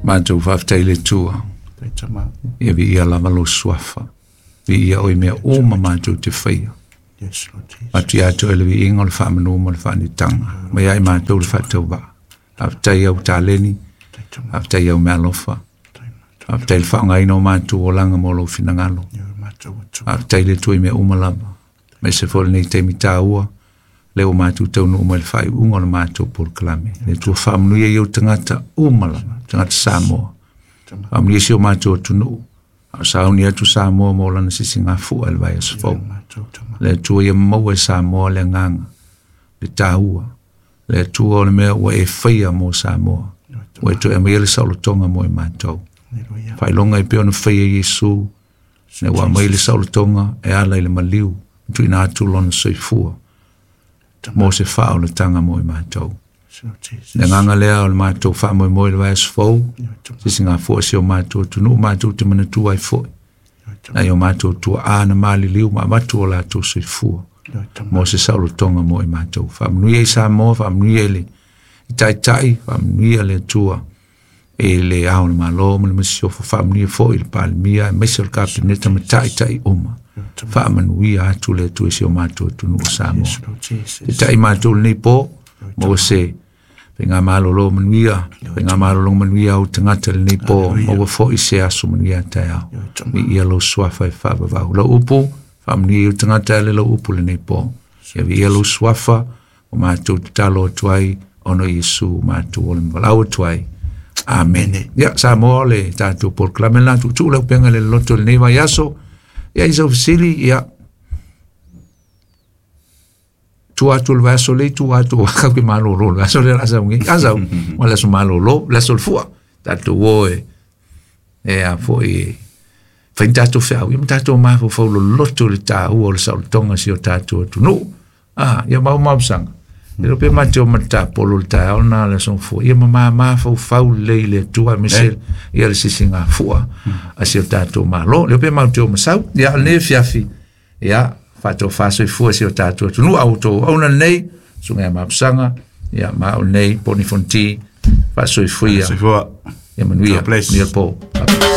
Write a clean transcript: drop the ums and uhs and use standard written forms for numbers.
Matou faafetai i le Atua. Ia viia lava lou suafa. Viia oe i mea uma matou te faia. Atu ia te oe le viiga o le faamanu ma le faanitaga. Mai ia i matou le faatauvaa. Faafetai i au taleni, faafetai i au meaalofa. Faafetai i le faaaogaina o matou olaga mo lou finagalo. Faafetai i le Atua i mea uma lava. Aemaise foi lenei taimi taua, lea ua matou taunuu mai i le faaiuga o le matou polokalame. Le Atua faamanuia i ou tagata uma lava, tagata Samoa. Faamanuia si o matou atunuu. A o sauni atu Samoa mo lana sisigafua i le vaiaso fou. Le Atua ia maua e Samoa le agaga, le taua. Le Atua o le mea ua e faia mo Samoa. Ua e toe aumaia le saolotoga mo i matou. Faailoga e pei ona faia e Iesu, ina ua aumai le saolotoga e ala i le maliu, tuuina atu lona soifua mo se faaolataga mo i matou. Le agaga lea o le matou faamoemoe i le vaiaso fou, sisigafua si o matou atunuu, matou te manatua ai foi nai o matou tuaa na maliliu ma avatu o latou soifua mo se saolotoga mo i matou. Faamanuia i Samoa, faamanuia i le taitai, faamanuia le Atua i le Ao o le Malo ma le Masiofo, faamanuia foi i le Palemia aemaise o le Kapeneta ma taitai uma. Faamanuia atu le Atua i si o matou atunuu o Samoa. Taitai matou lenei po, maua se faigamalolo manuia, faigamalolo manuia au tagata lenei po, maua foi se aso manuia taeao. Viia lou suafa e faavavau. Lau upu, faamanuia i ou tagata e le lau upu lenei po. Ia viia lou suafa, o matou tatalo atu ai, ona o Iesu matou ola ma valaau atu ai. Amene. Ia, Samoa o le tatou polokalame lena, tuutuu le upega i le loloto i lenei vaiaso. Ia, i sau fesili, ia, tua atu o le vaiaso lea, tua atu o kau ke malolo, le vaiaso lea la sau nei, a sau, o le aso malolo, le aso o le fua, tatou o e, e a foi e, fai ni tatou feau, ia ma tatou mafaufau loloto i le taua o le saolotoga o si o tatou atunuu. Ah, ia mau mausaga. E le pe ma te o ma tapolo le taeao na le aso fua. Ia ma mafaufau lelei i le Atua aemaise ia le sisigafua a si o tatou Malo. Le pe mau te o masau. Ia o lenei afiafi, ia faatofa soifua si o tatou atunuu a outou auauna lenei, susuga ia Mapusaga, ia ma o lenei Poni Fonti, faasoifua. Soifua. Ia manuia. God bless. Manuia le po.